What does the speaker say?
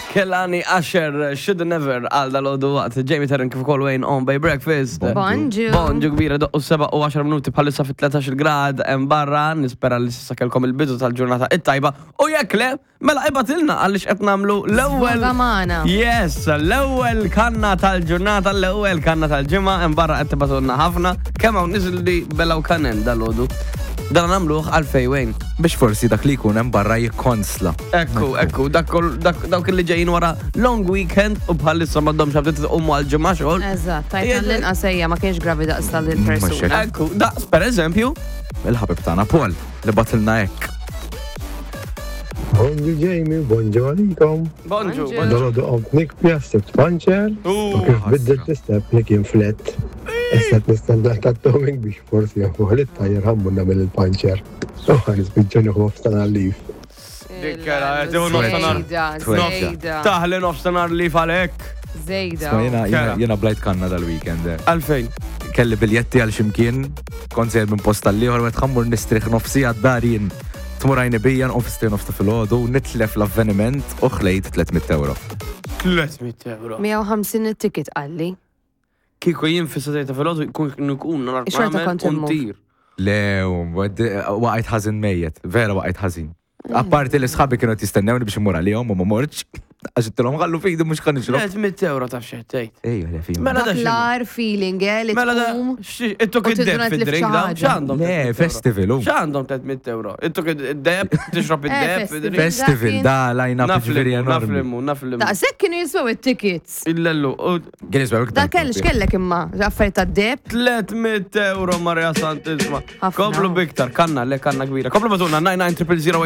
Kelani Asher, Should Never, għal dal-għodu waqt Jamie Terren kif ukoll Wayne on by breakfast. Bonġu. Bonġu kbira doqqu 7 u 10 minuti bħalissa fit 13 grad hemm barra, nispera li s'issa kellkom il-bidu tal-ġurnata it-tajba u jekk le, mela ibgħatilna għaliex qed nagħmlu l-ewwel. Sfoga magħna. Yes, l-ewwel kanna tal-ġurnata, l-ewwel kanna tal-ġimgħa hemm barra qed tibgħatulna ħafna. Kemm hawn nies li belgħu kanen dal-għodu. Dan nagħmluh għalfejn Wayne. Biex forsi dak li jkun hemm barra jikkonsla. Ekku, ekku, dak kol- dak- dawk li ġejjin wara long weekend u bħalissa m'għandhomx abtit iqumu għal ġimgħa xogħol. Eżatt, tajt l-inqas ejja ma kienx gravi daqs tal-persuna. Ekku, daqs per eżempju, Il-ħabib tagħna Paul li batilna hekk. Bonġu Jamie, bonġu għalikom. Bonġu, Bonġu. bonġu. Dolodu qomt nikbi għas-sibt panċer u kif biddilt l-istep li kien flet. Issa qed nistenna tat-towing biex forsi jafuh li t-tajjer ħammur nagħmel il-panċer. U ħa nispiċċa nieħu nofsinhar leave. Dik era, qed tieħu nofsinhar. Zejda, Twejda. zejda. Taħli nofsinhar li falek. Zejda. Isma' Jiena Kera. jiena- jiena blajt kanna dal-weekend. eh. Għalfejn. Kelli biljetti għal ximkien, kont sejjer minn post tal-ieħor, għedt ħammur nistrieħ nofsi għad-dar jien. Tmur għajni bija nqum fis nofs ta' filgħodu, nitlef l-avveniment u ħlejt 300 euro. 300 euro. 150 it-ticket qalli. Kieku jien fis-satej ta' filgħodu jkun nkun nar Xorta kont immur. untir. Le, waqajt ħażin mejjet, vera waqajt ħażin. Apparti li sħabi kienu qed jistennewni biex immur għalihom u ma mortx, għax ittilhom ħallu fidi mhux ħa nixrob. 300 euro taf xejn tgħid. Ejja, le fim. Mela da Dak x'inhu? l-ar feeling, eh, li Mela da tqum. ittuk u id-deb tiduna tlif fid-drink xi da, ħaġa. x'għandhom? Le, 300 euro? festival, hu. X'għandhom 300 euro? Ittuk id-deb, tixrob Eh, id-deb, festival. id-drink. Festival, da line-up ġifieri Naflimu, enormi. naflimu, naflimu. Daqshekk kienu jiswew it-tickets. Illellu, u Kien jiswew iktar. Da kell x'kellek imma, affarijiet tad-deb. 300 euro Maria Santissima. Ħafna. Komplu biktar, kanna, le kanna kbira. Komplu batuna, 99 000